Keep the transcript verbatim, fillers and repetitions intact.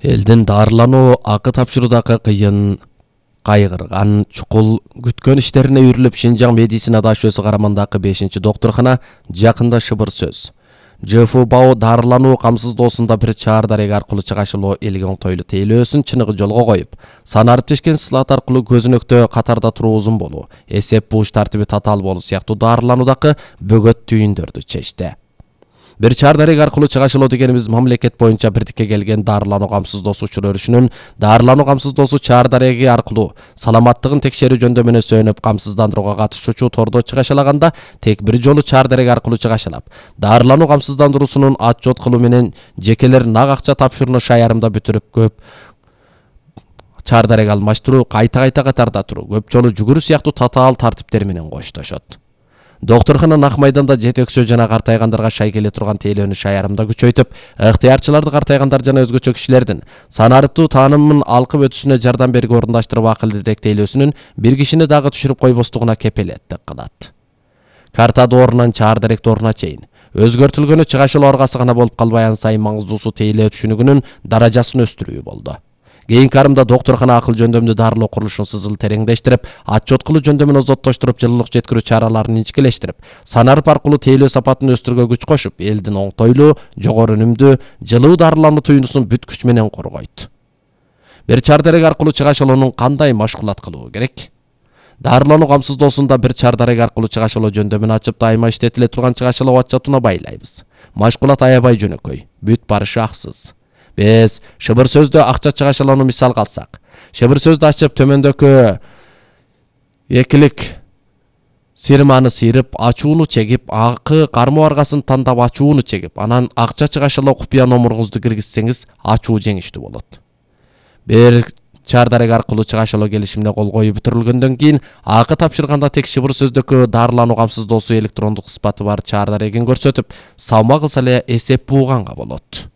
Элдин дарылануу акы тапшыруудагы кыйын, кайгырган, чукул күткөн иштерине үйрүлүп Шинжаң медицина дашөсү карамандагы бешинчи доктурхана жакында шыбыр сөз. Ж Ф Бау дарылануу камсыздоосунда бир чаар дареги аркылуу чыгашылуу элге оңтойлуу тейлөөсүн чыныгы жолго коюп, санариптешкен слот аркылуу көзүнөктө катарда туруу узун болуу, эсеп буш тартиби татаал болуу сыяктуу дарылануудагы бөгөт түйүндөрдү чечти. Бир чаар дареги аркылуу чыгашылоо дегенибиз мамлекет боюнча бирдикке келген дарылануу камсыздоосу учур өрүшүнүн дарылануу камсыздоосу чаар дареги аркылуу саламаттыгын текшерүү жөндөмүнө сүйөнүп камсыздандырууга катышуучу тордо чыгашалаганда тек бир жолу чаар дареги аркылуу чыгашалап, дарылануу камсыздандыруусунун отчет кылуу менен жекелер нак акча тапшырууну шаярымда бүтүрүп көп чаар дареги алмаштыруу, кайта-кайта катарда туруу, көп жолу жүгүрүү сыяктуу татаал тартиптер менен коштошот. Доктурхана Нак майданда жетекчөө жана картайгандарга шай келе турган тейлөөнү шаярымда күчөйтүп, ыктыярчыларды картайгандар жана өзгөчө кишилердин санариптуу таанымын алкып өтүшүнө жардам берүүгө орундаштырып акылдырек тейлөөсүнүн бир кишини дагы түшүрүп койбостугуна кепилеттик кылат. Карта доорунан чаар дарек дооруна чейин өзгөртүлгөнү чыгашылоо аргасы гана болуп калбай, ан сайын маңыздуусу тейлөө түшүнүгүнүн даражасын өстүрүү болду. Кийинки арымда доктурхана акыл жөндөмдүү дарылоо курулушун сызыл тереңдештирип, отчет кылуу жөндөмүн озоттоштуруп, жылуулук жеткирүү чараларын инчикелештирип, санарып аркылуу тейлөө сапатын өстүрүүгө күч кошуп, элдин оңтойлуу, жогору үнүмдүү, жылуу дарылануу туюнусун бүт күч менен коргойт. Бир чаар дареги аркылуу чыгашылоонун кандай машгулат кылуу керек? Дарылануу камсыздоосунда бир чаар дареги аркылуу чыгашылоо жөндөмүн ачып, дайыма иштетиле турган чыгашылоо отчетуна байлайбыз. Машгулат аябай жөнөкөй, бүт барышы аксыз. Биз шыбыр сөздө акча чыгашылоону мисал алсак, шыбыр сөздү ачып төмөндөгү экилик сирманы сыйрып, ачууну чегип, акы кармоо аргасын тандап ачууну чегип, анан акча чыгашылоо купуя номуруңузду киргизсеңиз, ачуу жеңиштүү болот. Бир чаар дареги аркылуу чыгашылоо келишимине кол коюп бүтүрүлгөндөн кийин, акы тапшырганда тек шыбыр сөздөгү дарылануу камсыздоосу электрондук сыпаты бар чаар дарегин көрсөтүп, салма кылса эле эсеп бууганга болот.